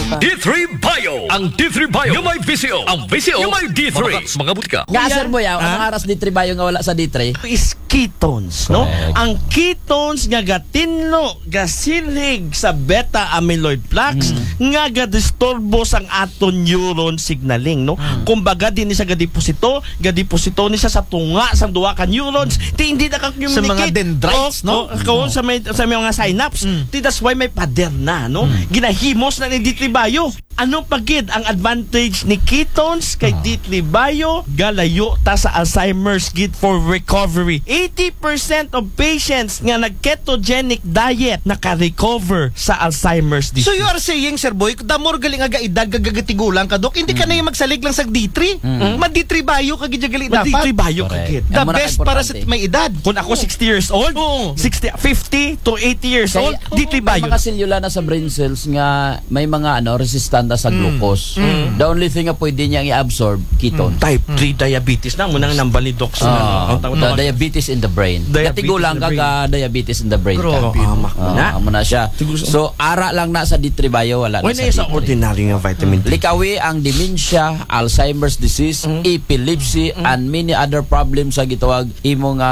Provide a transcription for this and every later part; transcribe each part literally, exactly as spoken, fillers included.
D three Bio. Ang D three Bio nga may V C O. Ang V C O nga may D three. Mga, mga butika. Nga, Sir Boy, ah, ang aras D three Bio nga wala sa D three is ketones, no? Correct. Ang ketones nga gatinlo, gasilhig sa beta amyloid plaques nga gadisturbo sang aton neuron signaling, no? Kumbaga, di ni siya gadeposito, gadeposito ni siya sa tunga sang duha ka neurons. Ti hindi na ka-communicate. Sa mga dendrites, Oh, no? oh, oh, sa may sa may mga synapse. Ti that's why may pader na, no? Ginahimos na ni D three Bio. Ano pa gid ang advantage ni ketones kay D three Bio? Galayo ta sa Alzheimer's gid for recovery. Eighty percent of patients nga nag-ketogenic diet naka-recover sa Alzheimer's disease. So you are saying, Sir Boy, the more gali nga gaedad, gagatigulang ka, Dok, hindi ka na yung magsalig lang sa D three. Ma D three Bio ka gid gali Ma D dapat. three Bio ka gid. The Ang mura best para sa importante. May edad. Kung ako sixty years old, Oo. sixty, fifty to eighty years old, D three may Bio. Mga selula na sa brain cells nga may mga ano resistant na sa glucose. The only thing nga pwede niya i-absorb, ketone. Type three diabetes na, munang nambal ni Doc sa Ah, ang tawag the tawag. diabetes in the brain. Diabetes Katigulang in the ka brain. ka diabetes in the brain ka. Grabe. Ah, mak- Ah, na. Amo na siya. Siguro sa- So, ara lang na sa D three Bio, wala Why na na sa sa D three. ordinary nga vitamin D? Likawi ang demensia, Alzheimer's disease, epilepsy, and many other problems sa gitawag imo nga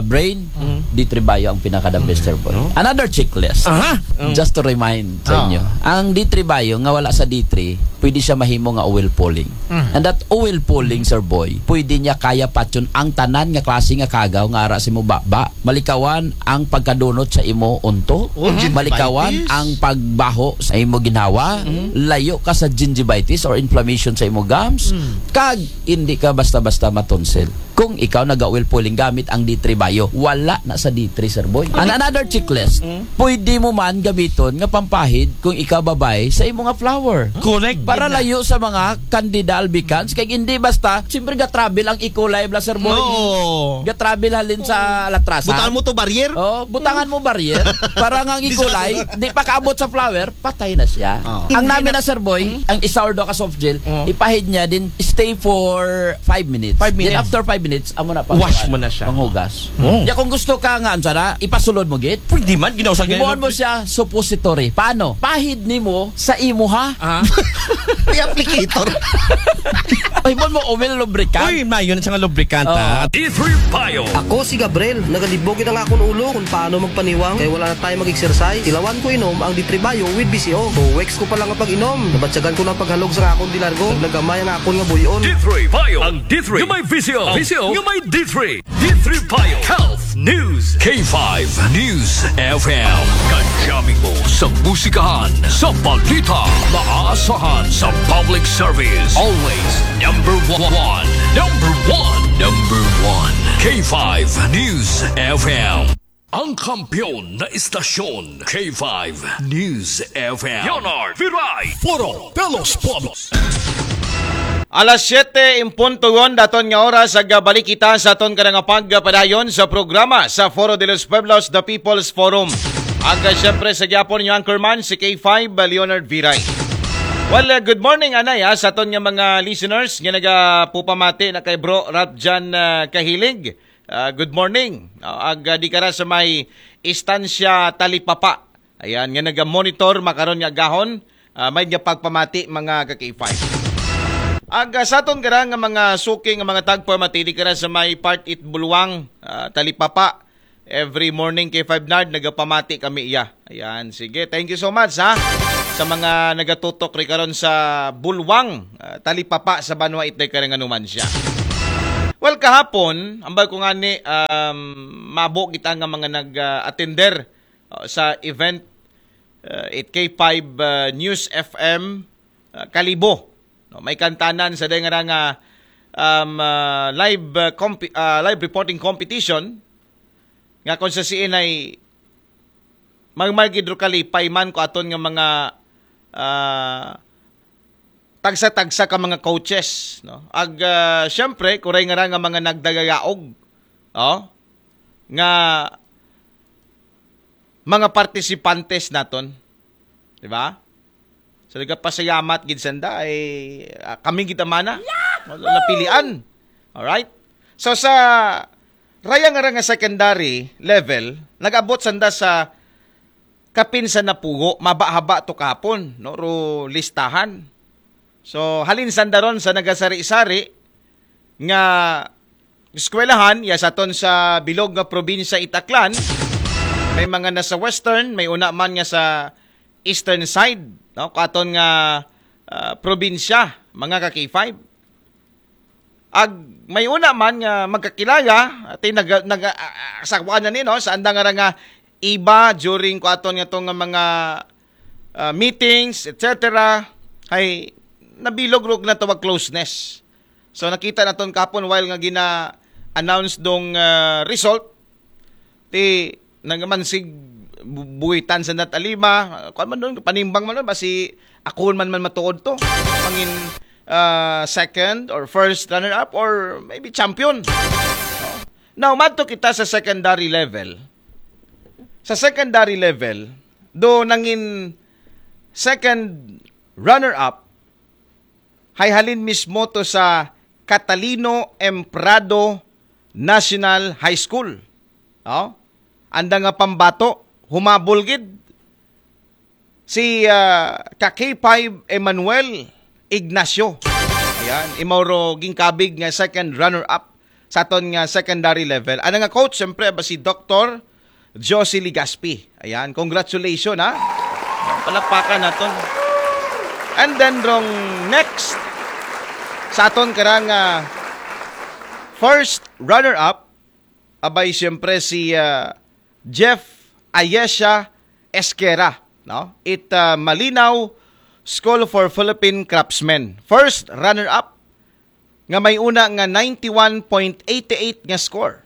brain, D three Bio ang pinaka the best, Sir Boy. Another checklist. Aha. Just to remind sa Ah. inyo. Ang D three Bio nga wala sa D three, pwede siya mahimo nga oil pulling. And that oil pulling, Sir Boy, pwede niya kaya patyon ang tanan nga klase nga kagaw nga ara sa imo baba. Malikawan ang pagkadunot sa imo unto. Oh, gingivitis. Malikawan ang pagbaho sa imo ginhawa. Layo ka sa gingivitis or inflammation sa imo gums. Kag hindi ka basta-basta matonsil. Kung ikaw naga-oil pulling gamit ang D three Bio, wala na sa D three, Sir Boy. And another checklist, pwede mo man gamiton nga pampahid kung ikaw babay sa imo nga flower. Correct. Para layo sa mga candida albicans, kay hindi basta, siyempre ga-travel ang E. coli, bla, Sir Boy. Oo. Ga-travel halin sa latrasan. Butangan mo to barrier? Oh, butangan mo barrier para nga ang E. coli, di pa kaabot sa flower, patay na siya. Oh. Ang namin na, Sir Boy, ang isa or do ka soft gel, ipahid niya din, stay for five minutes. Five Then minutes. After five minutes, amo na pa. Wash mo na siya. Panghugas. Oh. Ya kung gusto ka nga, ano sana, ipasulod mo gid. Pwede man, ginaw sa Himuon mo siya, suppository. Paano? Pahid nimo sa imuha. Ah. May applicator. Ay, mo mo, oil lubricant. Uy, mayo na siya nga lubricant, Oh. ah. D three Bio. Ako si Gabriel, nagalibog ang akong ulo kung paano magpaniwang kay wala na tayo mag-exercise. Tilawan ko inom ang D three Bio with B C O. Two weeks ko pa lang ang pag-inom, nabatyagan ko ng paghalog sa akong dilargo. Nagnagamay ang akong nga buyon. D three Bio. Ang D three nga may V C O. V C O nga may D three. D three Bio. Health News. K five News F M. Kadyamin mo sa musikahan, sa balita, maasahan sa public service. Always number one. Number one. Number one. K five News F M. Ang kampiyon na istasyon, K five News F M. Leonard Viray. Foro de los Pueblos. Alas siyete en punto yon daton nga oras, ag balik kita sa aton kanang pagpadayon sa programa sa Foro de los Pueblos, The People's Forum. Ag, ah, siyempre, sa gyapon yung anchorman, si K five, ah, Leonard Viray. Well, ah, good morning, anay, ah, sa aton nga mga listeners nga nagapupamati na kay Bro Ralph Jan, ah, Kahilig. Ah, good morning. Ah, ag, ah, di ka ra sa may Estancia Talipapa. Ayan, nga naga-monitor makaron nga gahon, ah, may nga pagpamati mga ka-K five. Ag, ah, sa aton gara nga mga suki nga mga tagpamati, di ka ra sa may Part it Bulwang, ah, Talipapa. Every morning, K five Nard, nagapamati kami iya. Ayan, sige. Thank you so much, ha. Sa mga nagatutok ri karon sa Bulwang, ah, Talipapa sa Banwa, itay ka nga numan siya. Well, kahapon, ambal ko nga ni, um, mabo kita nga mga nag-attender, uh, sa event, uh, at K five, uh, News F M, uh, Kalibo. No, may kantanan sa dahil nga, um, uh, live, uh, comp- uh, live reporting competition nga kung sa C N I, magmargid ro kalipay man ko aton nga mga, ah, tagsa-tagsa ka mga coaches, no? Ag, ah, siyempre, kuray nga ra nga mga nagdagagaog, oh, nga mga partisipantes naton, di ba? So, nagapasayamat gid sanda ay, ah, kami gid amana napilian. Alright? So, sa raya nga ra nga secondary level, nag-abot sanda sa kapin sa napugo, maba-haba to kahapon, no? Ro listahan. So, halin sanda ron sa nagasari-sari nga eskwelahan, ya sa aton sa bilog nga probinsya it Aklan, may mga nasa western, may una man nga sa eastern side, no? Katon nga, ah, probinsya, mga ka K five. Ag may una man nga magkakilala, ati nag-, nag-, ah, ah, sa kuan na ni, no? Sa andang nga nga iba during ko aton nga tong mga, ah, meetings, et cetera, ay nabilog rog na tawag closeness. So nakita naton kapon while nga gina-announce dong, ah, result, ti nagmansig bu-, buwitan sa nat alima, kuan man doon, panimbang man doon, basi ako man man matuod to. Mangin, ah, second or first runner-up or maybe champion. No? Now, madto kita sa secondary level. Sa secondary level, do nangin second runner-up, hay halin mismo to sa Catalino M. Prado National High School. No? Anda nga pambato, humabol gid si, ah, ka K five Emmanuel Ignacio. Ayan, imaw ro ginkabig nga second runner-up sa aton nga secondary level. Ano nga coach, siyempre, ba si Doktor Josie Legaspi. Ayan, congratulations, ha. Palakpakan naton. And then, rong next, sa aton karang, ah, first runner-up, abay, siyempre, si, ah, Jeff Ayesha Esquera, no? It, ah, Malinaw School for Philippine Craftsmen. First runner-up, nga may una nga ninety-one point eight eight nga score.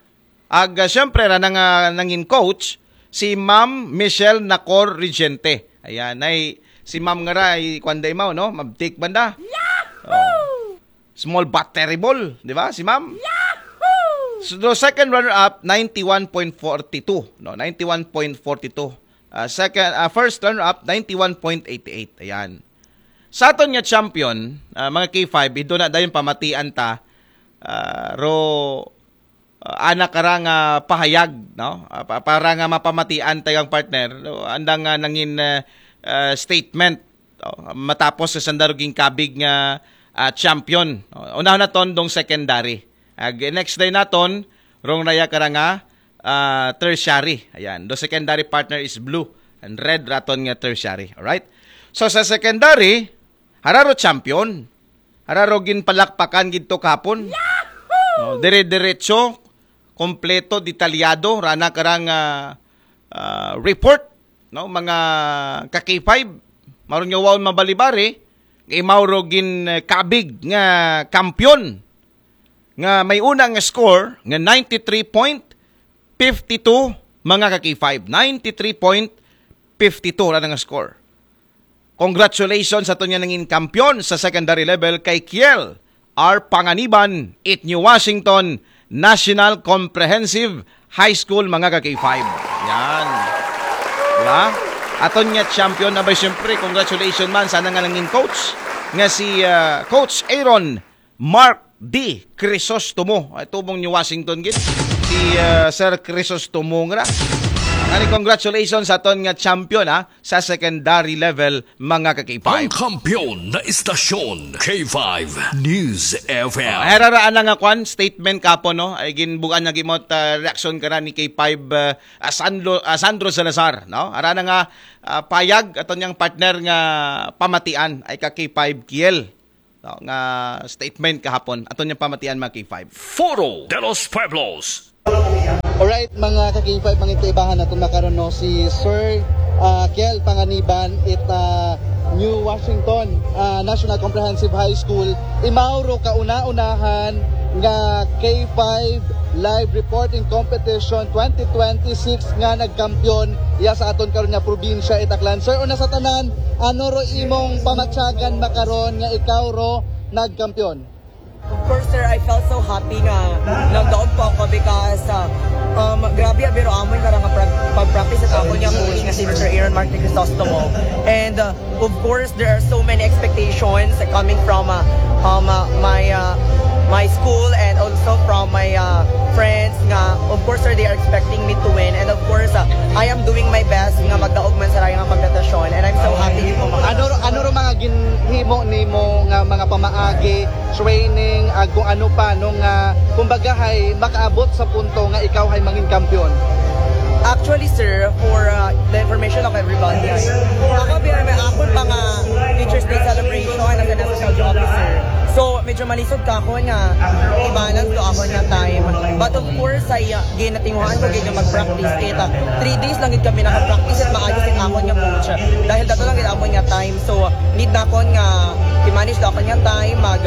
Ag, ah, siyempre, ra na nga nangin coach, si Ma'am Michelle Nacor Regente. Ayan, ay, si Ma'am nga ra, ay, kwan da imaw, no? Mabtik banda. Yahoo! Small but terrible, di ba? Si Ma'am? Yahoo! So, the second runner-up, ninety-one point forty-two, no? Ninety-one point forty-two. Ah, second, ah, first runner-up, ninety-one point eight eight. Ayan. Sa aton nga champion, ah, mga K five, ito na dayon pamatian ta, ah, ro, ah, ana kara nga pahayag, no? Ah, pa-, para nga mapamatian ta yung partner, no? Andang, ah, nangin, ah, ah, statement, no? Matapos sa sanda ro ginkabig nga, ah, champion. No? Unahon naton dong secondary. Ag next day naton, rong raya kara nga, ah, tertiary. Ayan, the secondary partner is blue and red raton nga tertiary. Alright? So sa secondary, hararo champion. Hararo ginpalakpakan gid to kahapon. No, dire-diretso, kompleto, detalyado, rana karang, ah, ah, report, no, mga ka K five. Maron nga waon mabalibari, kay Mauro gin, eh, kabig nga kampiyon nga may una nga score nga ninety-three point fifty-two, mga ka K five. Ninety-three point fifty-two ra nga score. Congratulations sa aton nga nangin kampiyon sa secondary level kay Kiel R. Panganiban, it New Washington National Comprehensive High School, mga ka K five. Yan. Diba? Aton nga champion na ba, siyempre, congratulations man. Sana nga nangin coach nga si, ah, Coach Aaron Mark D. Crisostomo. Ay, tubong New Washington gid. Si, ah, Sir Crisostomo nga. Ani, congratulations sa aton nga champion, ha, sa secondary level, mga ka K five. Ang kampiyon na istasyon, K five News F M. Ay, raraan na nga kwan, statement kapo, no? Ay, ginbugan na gimot, ah, reaksyon ka na ni K five, ah, ah, Sandro, ah, Sandro Salazar, no? Arana nga, ah, payag aton yang partner nga pamatian ay ka K five Kiel. No, nga statement kahapon. Aton yang pamatian, mga K five. Foro de los Pueblos. Alright, mga ka-K five, mga ibahan naton makaron, no, si Sir, ah, Kiel Panganiban, it, ah, New Washington, ah, National Comprehensive High School. Imaw ro kauna-unahan nga K five Live Reporting Competition twenty twenty-six nga nagkampiyon iya sa aton karon nga probinsya, it Aklan. Sir, una sa tanan, ano ro imong pamatyagan makaron nga ikaw ro nagkampiyon? Of course, sir, I felt so happy nga nagdaog po ako because, uh, um, grabe ang biro amon nga nga pra-, pag-practice at ako niya coach nga si Mister Aaron Mark Crisostomo. And, uh, of course, there are so many expectations coming from, uh, um, uh, my, uh, my school and also from my uh, friends nga, of course, sir, they are expecting me to win. And of course, uh, I am doing my best nga magdaog man sa raya nga kompetisyon. And I'm so happy gid po, mga Ano ano ro mga ginhimo nimo nga mga pamaagi, training, ag kung ano pa nung uh, kumbaga hay makaabot sa punto nga ikaw hay mangin kampiyon? Actually, sir, for uh, the information of everybody, ako biya may akon pa nga Teachers Day celebration as an S S L C officer. So, medyo malisod ka ako nga i-balance do ako nga time. But of course, ay uh, ginatinguhan ko gid nga mag-practice it. Uh, three days lang gid kami naka-practice it, maayo it akon nga coach. Dahil dato lang gid akon nga time. So, need na akon nga i-manage do akon nga time, mag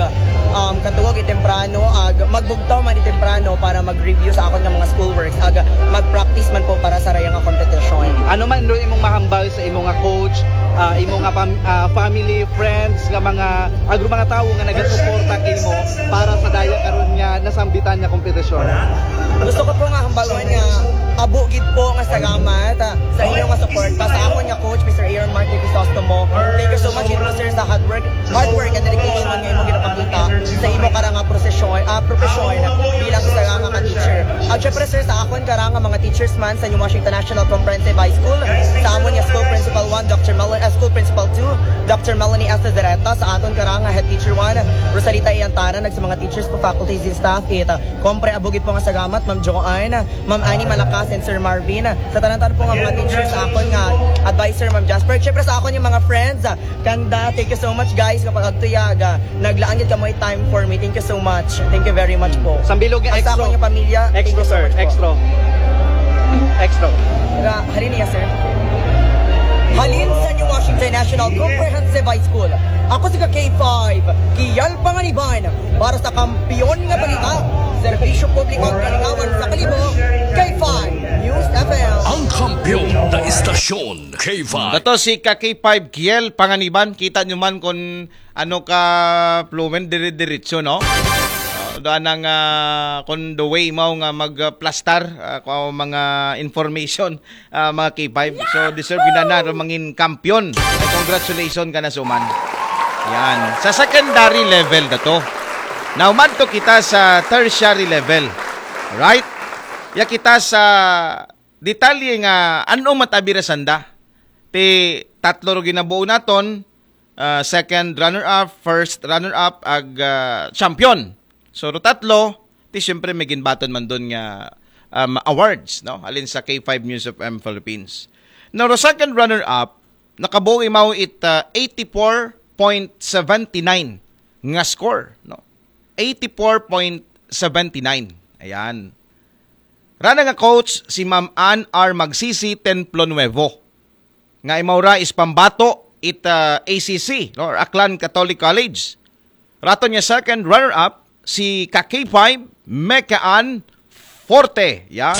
um, katuwag i temprano, ag magbugtaw man i temprano para mag-review sa akon nga mga schoolworks, ag mag-practice man po para sa raya nga competition. Ano man do imong mahambal sa imo nga coach, ah, imo nga pam- ah, family, friends, nga mga agro mga tawo nga nagasuporta kimo para sa daya karon nga nasambitan nga kompetisyon? Gusto ko po nga hambalon nga abo gid po nga salamat ah, sa inyo nga suporta sa akon nga coach, Mister Aaron Mark Crisostomo. Thank you so much, sir, sa hard work, hard work and dedication nga imo ginapakita sa imo karang nga prosesyon, ah, profesyon bilang isa nga ka teacher. At syempre, sir, sa akon karang nga mga teachers man sa New Washington National Comprehensive High School, sa amon nga school principal one, Doctor Mel- uh, school principal two, Doctor Melanie S. Zareta, sa aton karang nga head teacher one, Rosalita Iantara, nag sa mga teachers po, faculties and staff, it, uh, kompre abo gid po nga salamat, Ma'am Joanne, Ma'am Annie Malakas, and Sir Marvin, sa tanan-tanan po nga mga teachers, sa akon nga advisor, Ma'am Jasper, syempre sa akon nga mga friends, ah, Kanda, thank you so much, guys, nga pag-agtuyag. Ah, naglaan gid kamo time for me. Thank you so much. Thank you very much po. Sambilog nga At sa extra. akong pamilya, thank Extra, you so sir. much po. Extra. Extra. Ra, halin niya, sir. Halin sa New Washington National Comprehensive High School. Ako si ka K five, Kiel Panganiban, para sa Kampiyon nga Balita, Serbisyo Publiko at Kalingawan sa Kalibo, K five News F M. Ang kampiyon na istasyon, K five. Dato si ka K five Kiel Panganiban, kita nyo man kung ano ka fluent, dire-diretso, no? Uh, doon ang uh, kung the way mo nga magplastar uh, kung mga information, uh, mga K five. So, deserve yun na na mangin kampiyon. Ay, congratulations ka na suman. Yan. Sa secondary level na to. Now, madto kita sa tertiary level. Right? Ya kita sa detalye nga ano matabira sanda. Ti tatlo ro ginabuo naton, uh, second runner-up, first runner-up, ag uh, champion. So, ro tatlo, ti siyempre may ginbaton man doon nga um, awards, no? Alin sa K five News F M Philippines. Now, ro second runner-up, nakabuo imaw it uh, eighty-four point seventy-nine nga score, no? Eighty-four point seventy-nine. Ayan. Rana nga coach si Ma'am Ann R. Magsisi Templo Nuevo. Nga imawra is pambato it uh, A C C, no? Or Aklan Catholic College. Raton niya second runner-up si ka K five Mekaan Forte. Yan.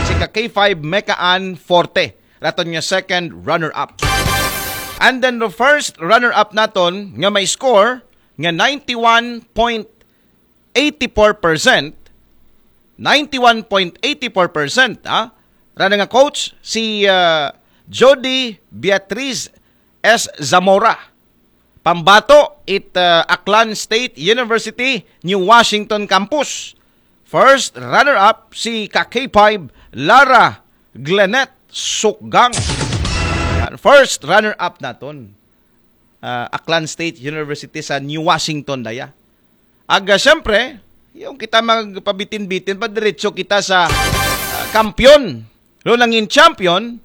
Si ka K five Mekaan Forte. Raton niya second runner-up. And then the first runner-up naton nga may score nga ninety-one point eighty-four percent, ninety-one point eighty-four percent, ah, rana nga coach si uh, Jody Beatriz S. Zamora. Pambato it uh, Aklan State University New Washington Campus. First runner-up si ka K five Lara Glenette Sukgang. Yan. First runner-up naton. Uh, Aklan State University sa New Washington daya. Aga, siyempre, yung kita magpabitin-bitin, padiretso kita sa uh, kampiyon. Lo nangin champion,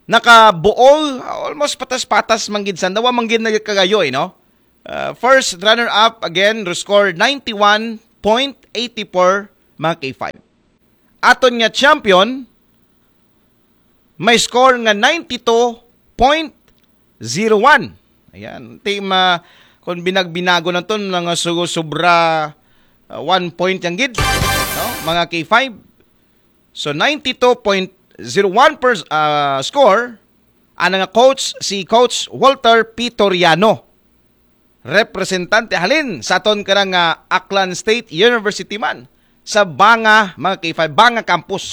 nakabuol, almost patas-patas manggid sanda, wa manggid nagkagayo, eh, no? Uh, first runner-up, again, score ninety-one point eighty-four, mga K five. Aton nga champion, may score nga ninety-two point zero one. Ayan. Team, uh, kung binagbinago na to, mga su- sobra uh, one point yang gid, no? Mga K five. So, ninety-two point zero one per, uh, score, ang nga coach, si Coach Walter Pitoriano. Representante halin sa aton karang uh, Aklan State University man sa Banga, mga K five, Banga Campus.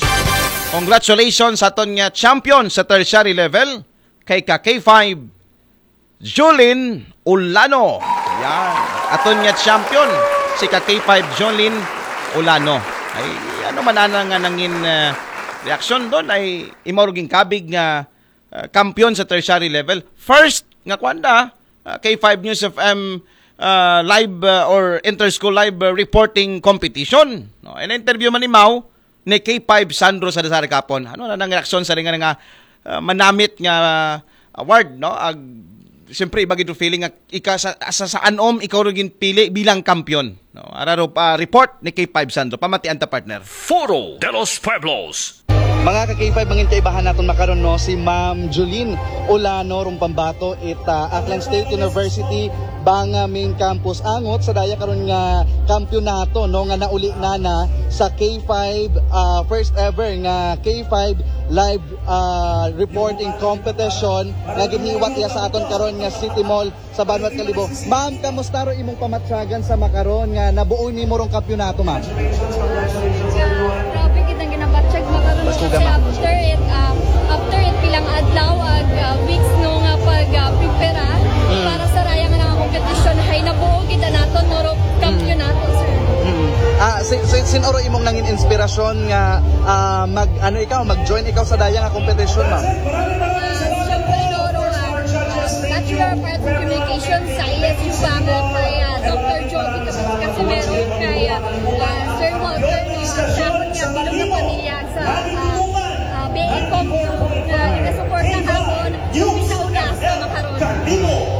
Congratulations sa aton nga champion sa tertiary level kay ka K five, Julin Ulano. Yan. Aton nga champion, si ka K five Jolin Olano. Ay, ano man ana nga nangin ah, reaksyon doon ay imaw ra gin kabig nga ah, kampiyon sa tertiary level. First nga kwanda, ah, K five News F M ah, live ah, or inter-school live ah, reporting competition. No, in interview man imaw ni K five Sandro sa Dasar kapon. Ano na nang reaksyon sa ringan nga ah, manamit nga award, no? Ag, siyempre, iba gid feeling nga ika sa, sa, sa anom ikaw rin pili bilang kampiyon. No? Araro pa report ni K five Sandro. Pamatian ta, partner. Foro de los Pueblos. Mga ka K five, mangin kaibahan naton makaron, no, si Ma'am Jolene Olano rong pambato it ah, Aklan State University Banga Main Campus, angot sa daya karon nga kampiyonato, no, nga nauli na na sa K five, ah, first ever nga K five live ah, reporting competition nga ginhiwat iya sa aton karon nga City Mall sa Banwat Kalibo. Ma'am, kamusta ro imong pamatyagan sa makaron nga nabuo nimo rong kampiyonato, ma'am? Grabe gid ang ginabatyag makaron. Mas kasi kuga, ma'am. After it, ah, after it pilang adlaw ag ah, weeks, no, nga pag ah, prepara para sa raya nga nanga competition, hay nabuo gid naton, no, ro kampiyonato, sir. Mm. Ah, si, si, sin-o ro imong nangin inspirasyon nga ah, mag ano ikaw, mag-join ikaw sa daya nga competition, ma'am? Ah, siyempre, no, ro, ah, Bachelor of Arts in Communication sa A S U Banga kay ah, Doctor Jovi Casimero, kay ah, ah, Sir Walter, no, sa akon nga bilog nga pamilya sa ah, ah, B A Com, no, nga nagasuporta sa akon sa una sa makaron.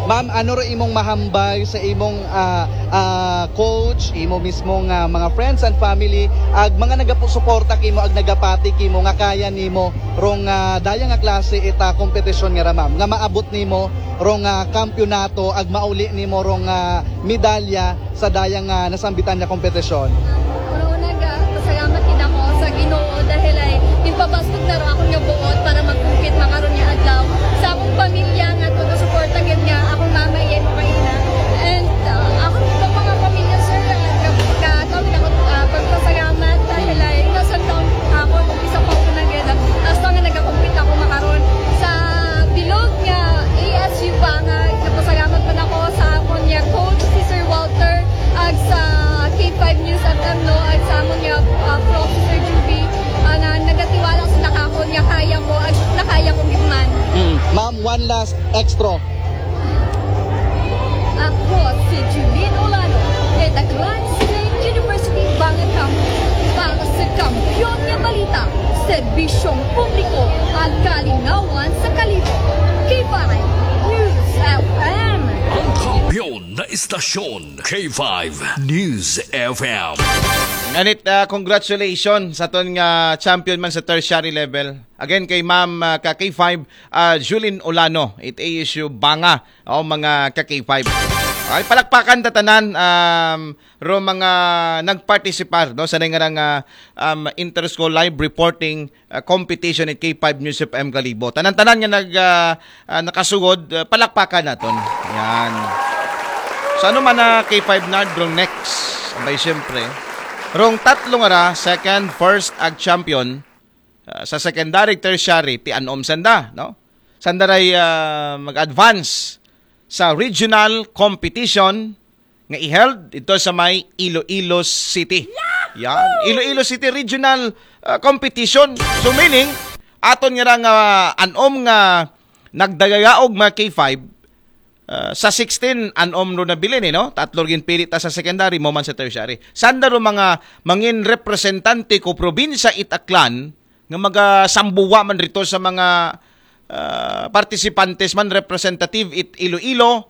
Ma'am, ano ro imong mahambal sa imong ah, ah, coach, imo mismo nga mga friends and family, ag mga nagasuporta kimo, ag nagapati kimo nga kaya nimo rong ah, daya nga klase ita kompetisyon nga ra, ma'am, nga maabot nimo rong ah, kampiyonato, ag mauli nimo rong ah, medalya sa daya nga nasambitan nga kompetisyon? Una-una, ga-, pasalamat gid ako sa Ginoo dahil ay ginpabaskog na ro akon nga buot para mag-compete makaron nga adlaw. Sa akong pamilya nga taga-suporta gid nga akong mama, iya mo kaina. And ah, akong iba pa nga pamilya, sir, ah, ka-, ka-, tawag ako, ah, pagpasalamat dahil ay nasa taon ako, isa pa ako na gid. Hasta nga nagakompete ako makaron sa bilog nga A S U Banga, nagpasalamat man ako sa akon nga coach, si Sir Walter, ag sa K five News F M, no, ag sa amon nga ah, prof, si Sir Juby, ah, nga nagatiwala sa nakakon nga kaya ko, ag nakaya ko gid man. Mm. Ma'am, one last extra. Ako si Julian Olano, Edaglan State University, Banga Campus, para sa kampiyon nga balita, serbisyong publiko, at kalingawan sa Kalibo. K five News F M. Ang kampiyon na istasyon, K five News F M. Nganit, ah, congratulations sa aton nga champion man sa tertiary level. Again, kay Ma'am ah, ka K five, ah, Julin Olano, it A S U Banga, o mga ka K five. Ay, palakpakan ta tanan, um, ro mga nagpartisipar, no, sa nga ah, um, inter-school live reporting ah, competition at K five News F M Kalibo. Tanan-tanan nga nag, ah, ah, nakasugod, ah, palakpakan naton. Yan. So ano man na K five Nard, rong next, abay siyempre, rong tatlo nga ra, second, first, ag champion, ah, sa secondary, tertiary, ti anom sanda, no? Sanda ray ah, mag-advance sa regional competition nga i-held ito sa may Iloilo City. Yan, Iloilo City Regional ah, Competition. So meaning, aton nga ra nga anom nga nagdagayaog mga K five, ah, sa sixteen anom ro nabilin, eh, no? Tatlo rin pili ta sa secondary, mo man sa tertiary. Sanda ro mga mangin representante ko probinsya it Aklan nga magasambuwa man rito sa mga ah, participantes man, representative it Iloilo,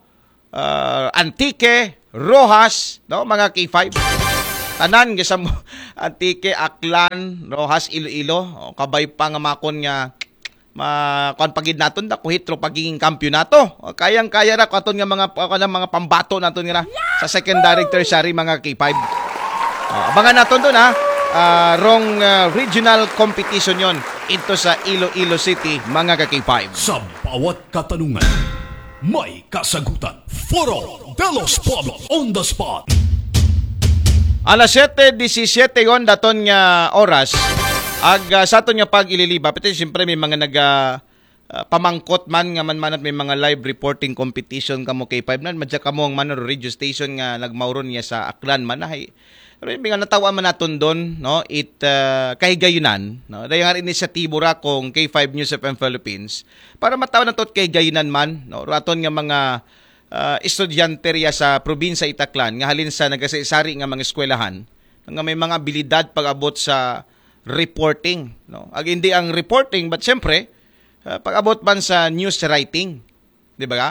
ah, Antique, Roxas, no, mga K five. Tanan, gisam Antique, Aklan, Roxas, Iloilo. O, kabay pa nga makon nga ma kuan pagid naton da kuhit ro pagiging kampiyonato. O, kayang-kaya ra ko aton nga mga, kuan, mga pambato naton nga ra sa secondary, tertiary, mga K five. O, abangan naton doon, ha. Ah, rong ah, regional competition yon ito sa Iloilo City, mga ka K five. Sa bawat katanungan, may kasagutan. Foro de los Pueblos on the spot. Alas siyete disisiyete yon daton nga oras. Ag ah, sa aton nga pag-ililiba, pati siyempre may mga nag ah, ah, pamangkot man nga man manat may mga live reporting competition kamo K five nan, madya kamo ang man radio station nga nagmauron niya sa Aklan man ay. Pero yung mga natawa man naton doon, no, it ah, kahigayunan, no, dahil nga rin inisyatibo ra kung K five News F M Philippines para matawa na to kahigayunan man, no, raton nga mga ah, estudyante riya sa probinsya Itaklan nga halin sa nagasari-sari nga mga eskwelahan nga may mga abilidad pag-abot sa reporting, no? Ag hindi ang reporting, but siyempre, ah, pag-abot man sa news writing, di ba ka?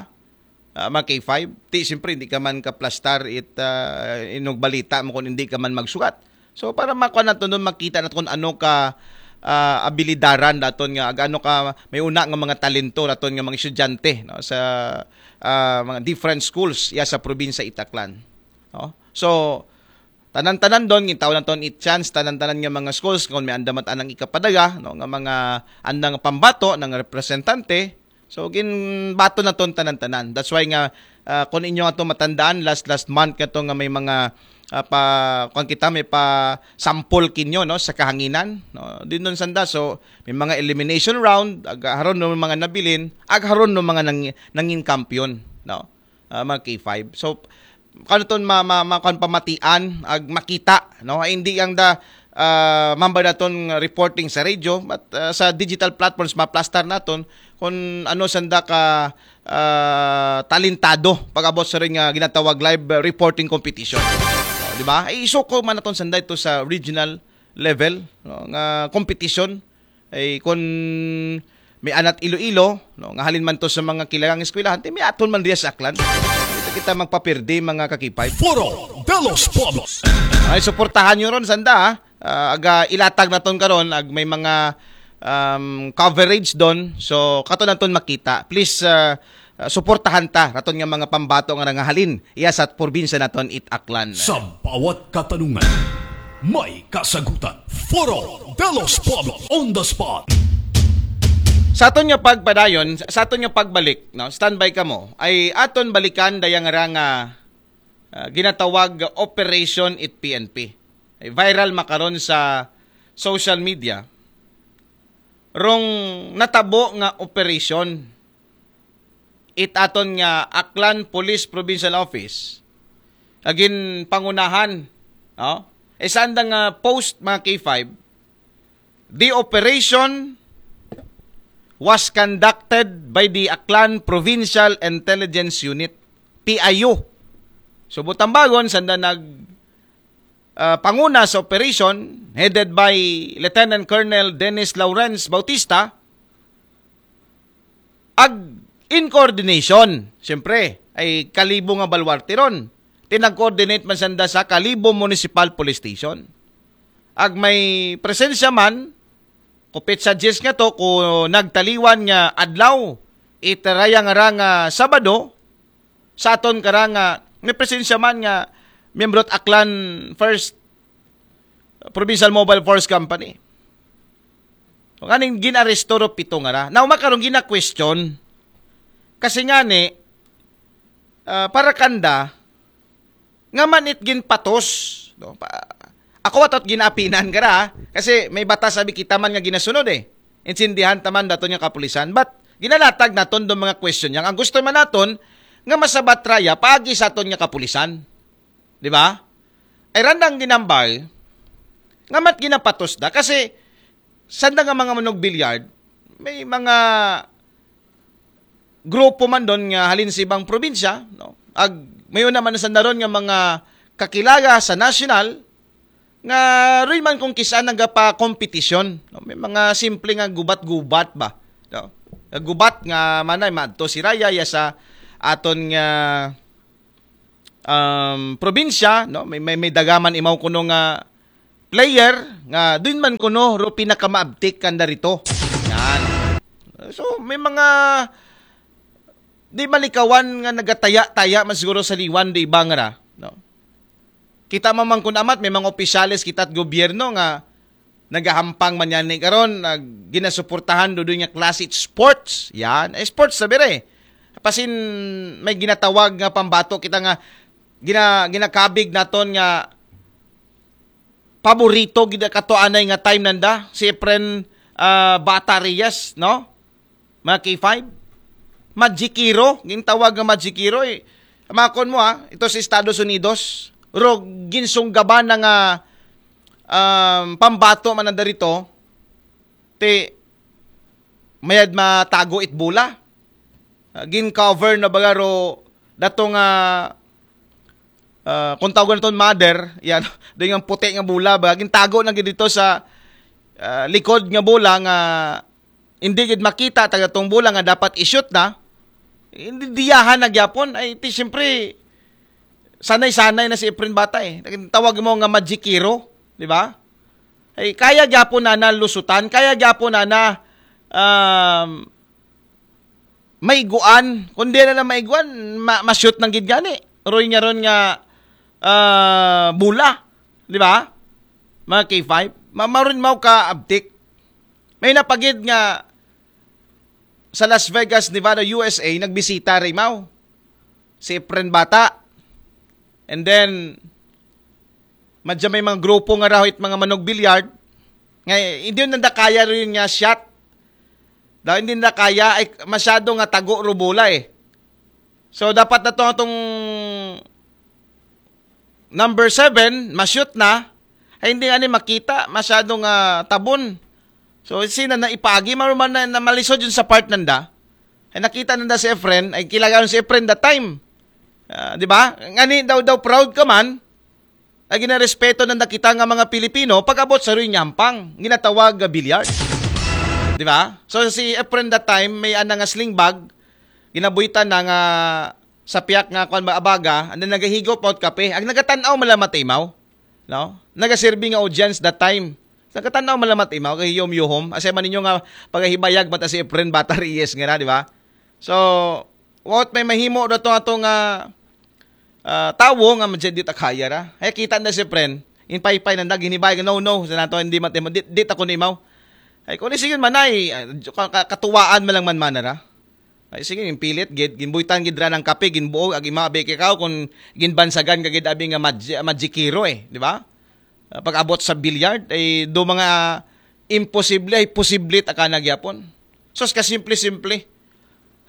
Ah, mga K five, ti siyempre hindi ka man kaplastar it ah, inugbalita mo kung hindi ka man magsugat. So para makuha nato nun, makita nato kung ano ka ah, abilidaran daton nga ag ano ka may una nga mga talento daton nga mga estudyante, no, sa ah, mga different schools ya sa probinsya Itaklan, no? So tanan-tanan don gintaw naton it chance, tanan-tanan nga mga schools kung may andam at anang ikapadaga, no, nga mga andang pambato ng representante. So ginbato naton tanan-tanan. That's why nga ah, kung inyo ato matandaan last last month nga to nga may mga ah, pa kung kita may pa sample kinyo, no, sa kahanginan, no, din nun sanda. So may mga elimination round, ag haron no mga nabilin, ag haron no mga nang, nangin kampiyon, no, ah, mga K five. So kano ton ma, ma, ma, kuwan, pamatian ag makita, no? Ay, hindi ang da ah, mambay naton reporting sa radio, but ah, sa digital platforms maplastar naton kung ano sanda ka ah, talentado pag-abot sa ring ah, ginatawag live ah, reporting competition. Ah, di ba? Ay, isuko man naton sanda ito sa regional level, no, nga competition. Ay kung may anat Iloilo, no, nga halin man to sa mga kilalang eskwelahan, ti may aton man diya sa Aklan. Kita kita magpapirdi, mga kakipay. Foro de los Pueblos. Ay, suportahan nyo ron, sanda, ha? Ah, aga ilatag naton karon ag may mga um, coverage don. So kato naton makita. Please ah, ah, suportahan ta raton nga mga pambato nga nangahalin iya sa probinsya naton it Aklan. Sa bawat katanungan, may kasagutan. Foro de los Pueblos on the spot. Sa aton nga pagpadayon, sa aton nga pagbalik, no, standby kamo, ay aton balikan dayang ra nga ah, ginatawag Operation it P N P. Ay viral makaron sa social media. Rong natabo nga operation it aton nga Aklan Police Provincial Office agin pangunahan, no? Isa andang ah, post, mga K five, the operation was conducted by the Aklan Provincial Intelligence Unit, P I U. So butambagon sanda nag ah, panguna sa operation headed by Lieutenant Colonel Dennis Lawrence Bautista ag in coordination, siyempre, ay Kalibo nga baluarte ron. Tinag-coordinate man sanda sa Kalibo Municipal Police Station. Ag may presensya man, kupit sa diyes nga to, ko nagtaliwan nga adlaw, itaraya nga ra nga Sabado, sa aton kara nga may presensya man nga miyembro at Aklan First Provincial Mobile Force Company. Kaning ginaresto ro pito nga ra. Now, makarong gina-question. Kasi nga ni, ah, para kanda, nga man it ginpatos. No? Pa, ako atot ginapinan ka ra, ha? Kasi may batas sabi kita man nga ginasunod eh. Intindihan taman daton nga kapulisan. But, ginalatag naton do mga question yang. Ang gusto man naton, nga masabat raya, paagi sa aton nga kapulisan. Di ba? Ay randang ginambal, nga mat ginapatos da. Kasi, sanda nga mga manog billiard, may mga grupo man don nga halin sa ibang probinsya, no? Ag, may una man sanda ron nga mga kakilala sa national, nga roy man kung kisaan nagapa-competition, no? May mga simple nga gubat-gubat ba? No? Gubat nga manay, madto si Raya, ya sa aton nga um, probinsya, no? May, may, may dagaman imaw kuno nga player nga doon man kuno ro pinakamaabtik kanda rito. Yan. So, may mga di malikawan nga nagataya-taya man siguro sa liwan di iba nga ra, no? Kita man man kun amat, may mga opisyales kita at gobyerno nga nagahampang man yan ni karon, nag ginasuportahan do doon nga klase sports. Yan, eh, sports sabi re. Pasin may ginatawag nga pambato kita nga gina, ginakabig naton nga paborito gid kato anay nga time nanda, si Efren ah, Bata Reyes, no? Mga K five, Majikiro, gintawag nga Majikiro, eh. Makon mo, ha, ito sa Estados Unidos, ro ginsunggaban na nga, um, pambato man na darito, ti mayad matago it bola. Ah, gin-cover na baga ro dato nga, ah, kung tawagan naton mother, yan, doon yung puti nga bola, baga gintago na gid dito sa, ah, likod nga bola nga hindi gid makita taga tong bola nga dapat i-shoot na. Hindi diyahan na gyapon. Ay, ti, siyempre, sanay-sanay na si Efren Bata eh. Tawag mo nga Majikiro, di ba? Ay, kaya gyapon na na lusutan, kaya gyapon na na, um, maiguan. Kung di na na maiguan, ma- ma-shoot ng gid gani. Roy nga ron nga, ah, bola. Di ba? Mga K five. Ma- maroon mo ka abtik. May napagid nga sa Las Vegas, Nevada, U S A, nagbisita rin mo si Efren Bata. And then, madya may mga grupo nga raw it mga manog billiard. Nga, hindi yun nanda kaya rin nga shot. Daw hindi nanda kaya, ay masyado nga tago rubula eh. So, dapat na to atong number seven, ma-shoot na. Ay, hindi nga ni makita, masyado nga tabon. So, sina na ipagi, maruman na, na malisod yun sa part nanda. Ay, nakita nanda si Efren, ay kilagayon si Efren that time. Ah, di ba? Ngani daw daw proud ka man, ay ginarespeto nanda kita nga mga Pilipino, pag-abot sa ruy nyampang, ginatawag nga billiard. Di ba? So, si Efren that time, may ana nga sling bag, ginabuhitan na nga sa piyak nga kuan ba abaga, and then nagahigop out kape. Ang nagatan-aw malamat imaw, no? Nagaserbi nga audience that time. Nagatan-aw malamat imaw kay Yom Yuhom. Asa man ninyo nga pagahibayag mata si Efren Bata Reyes nga na, di ba? So, what may mahimo daw to ato nga, ah, tawo nga madya di ta kaya ra. Ay kita na si Efren. In paypay nanda ginhibay, no, no, sa nato hindi matimo, di, di ta ko nimaw. Ay, kung sige man ay, ah, ka- ka- katuwaan man lang man manara. Ay, sige, yung pilit, gid, ginbuhitan gid ra ng kape, ginbuog, ag ima, abeke ka, kung ginbansagan ka gid abi nga madji-, madjikiro eh, di ba? Ah, pag-abot sa billiard, ay do mga imposible, ay posible ta ka na gyapon. Sus, kasimple-simple.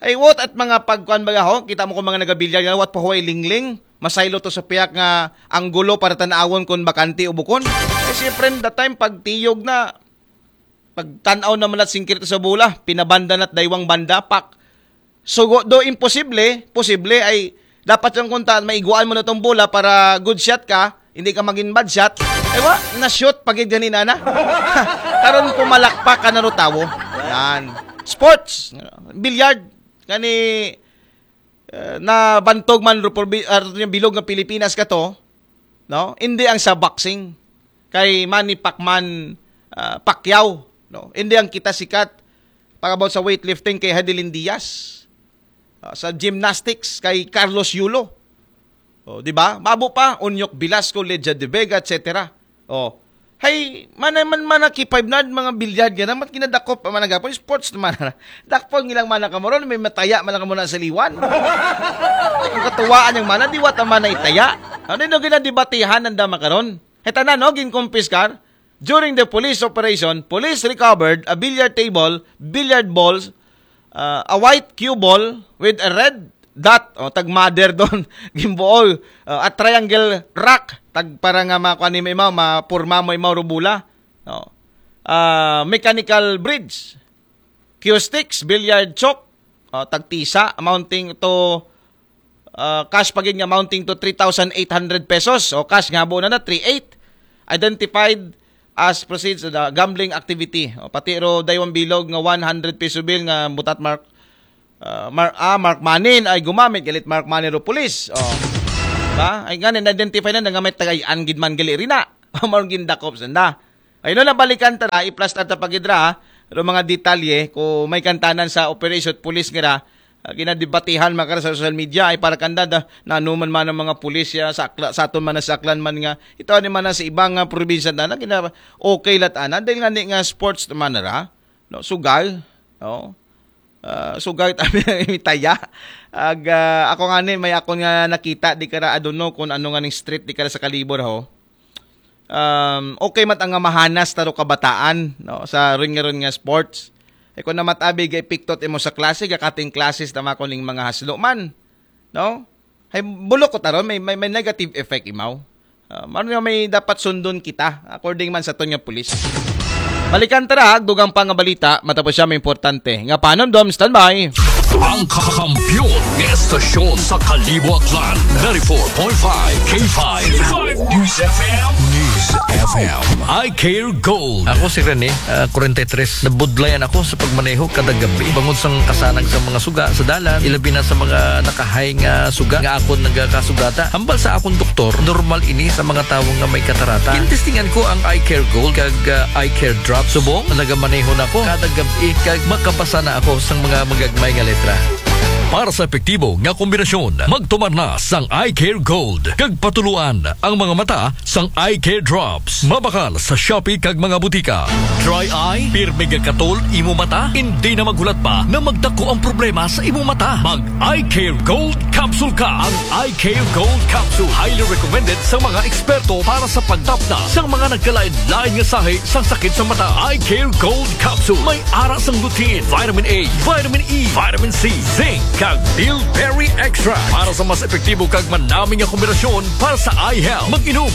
Ay, what at mga pagkuan ba ho? Kita mo kung mga nagabilyar nga, what pa huway lingling? Masaylo to sa piyak nga anggulo para tanawon kung bakante o bukon. Ay, siyempre, that time, pagtiyog na, pagtanaw na malat singkirito sa bola, pinabanda na't daywang banda, pak. So, go- do imposible, posible ay dapat yung kunta, maiguan mo na tong bola para good shot ka, hindi ka maging bad shot. Ay, wa, na-shoot, pagid ganina na. Karon pumalakpak ka na ro tawo. Yan. Sports, billiard, kani, eh, na bantog man ro por bi- ah, yung bilog ng Pilipinas ka to, no? Hindi ang sa boxing kay Manny Pacman, ah, Pacquiao, no? Hindi ang kita sikat pag about sa weightlifting kay Hadelin Diaz. Ah, sa gymnastics kay Carlos Yulo. Oh, di ba? Mabo pa, Unyok Velasco, Leja de Vega, et cetera. Oh. Hay, mana man mana ki five na mga bilyard nga naman kinadakop pa man gapon sports naman. Dakpon ngilang mana kamoron may mataya man lang muna sa liwan. Ang katuwaan yung mana di wata mana itaya. Ano yung ginadibatihan ng dama karon? Heta na no gin kumpiskar during the police operation, police recovered a billiard table, billiard balls, uh, a white cue ball with a red dot, o tag mother doon, gimbuol, uh, at triangle rack, tag para nga makuha ni imaw, mapurma mo imaw rubula. No. Uh, mechanical bridge, cue sticks, billiard chalk, uh, tagtisa, amounting to uh, cash pa gid nga amounting to three thousand eight hundred pesos. O cash nga buo na na, three eight. Identified as proceeds of the gambling activity. O, pati ro daywang bilog nga one hundred peso bill nga butat mark, uh, mark, ah, mark money ay gumamit galit mark money ro pulis. O, ba? Ay nga na-identify na nga may tagayan gid man gali rina. Marong gindakop sanda. Ay no, nabalikan ta na, i-plus ta pagidra, ro mga detalye kung may kantanan sa operation at pulis nga ra, ah, ginadibatihan makara sa social media ay para kanda da, nanuman man ang mga pulis ya sa, akla, sa aton man sa Aklan man nga ito ni man sa ibang nga probinsya na, na gina, okay lat ana dahil nga ni nga sports naman ra, no, sugal, no. Ah, sugal tabi ang imitaya. Ag ah, ako nga ni may akon nga nakita di kara adono kung ano nga ning street di kara sa Kalibor ho. Um, okay man ang nga mahanas taro kabataan, no, sa ring nga ron nga sports. E kon na matabi ga epekto it imo sa klase, ga-cutting classes na man kuno ning mga haslo man. No? Hay bulok ko taron, may, may, may negative effect imaw. Ah, mano nga may dapat sundon kita, according man sa aton nga pulis. Balikan ta ra, ha, dugang pa nga balita, matapos siya may importante. Nga panom, Dom, standby. Ang kakampiyon nga estasyon sa Kalibo Aklan, ninety-four point five K five News F M. News F M. I Care Gold. Ako si Rene, ah, forty-three. Nabudlayan ako sa pagmaneho kada gabi. Bangod sa kasanag sa mga suga sa dalan, ilabi na sa mga nakahay nga suga nga akon nagakasugata. Hambal sa akong doktor, normal ini sa mga tawo nga may katarata. Gintestingan ko ang Eye Care Gold kag ah, Eye Care Drop. Subong, nagamaneho na ko kada gabi kag makabasa na ako sa mga magagmay nga letra. Para sa epektibo nga kombinasyon, magtumar na sang Eye Care Gold kag patuluan ang mga mata sang Eye Care Drops. Mabakal sa Shopee kag mga butika. Dry eye, pirmi nga katol imo mata, hindi na maghulat pa na magdako ang problema sa imo mata. Mag Eye Care Gold Capsule ka. Ang Eye Care Gold Capsule highly recommended sa mga eksperto para sa pagtapna sa mga nagkalain-lain nga sahi sa sakit sa mata. Eye Care Gold Capsule may ara sang lutein, vitamin A, vitamin E, vitamin C, zinc, kag bilberry extract para sa mas epektibo kag manami nga kombinasyon para sa eye health. Mag-inom